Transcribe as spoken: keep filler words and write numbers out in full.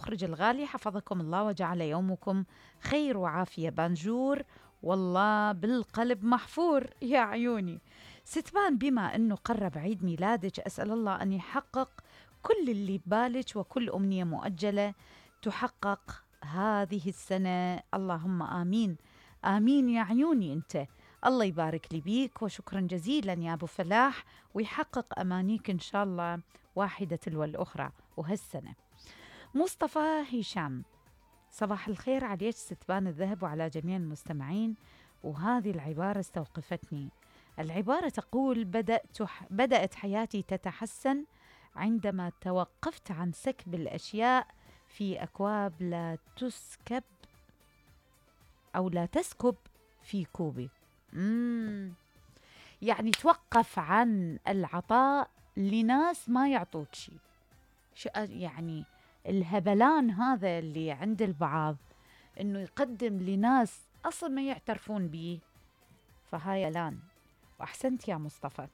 المخرج الغالي حفظكم الله وجعل يومكم خير وعافية. بانجور والله بالقلب محفور يا عيوني. ستبان بما أنه قرب عيد ميلادك أسأل الله أن يحقق كل اللي ببالك وكل أمنية مؤجلة تحقق هذه السنة، اللهم آمين آمين يا عيوني. أنت الله يبارك لي بيك وشكرا جزيلا يا أبو فلاح، ويحقق أمانيك إن شاء الله واحدة تلو الأخرى وهالسنة. مصطفى هشام، صباح الخير عليك ستبان الذهب وعلى جميع المستمعين. وهذه العبارة استوقفتني. العبارة تقول: بدأت بدأت حياتي تتحسن عندما توقفت عن سكب الأشياء في أكواب لا تسكب أو لا تسكب في كوبي. مم. يعني توقف عن العطاء لناس ما يعطوك شيء. يعني الهبلان هذا اللي عند البعض إنه يقدم لناس أصلا ما يعترفون به، فهاي لان. وأحسنت يا مصطفى.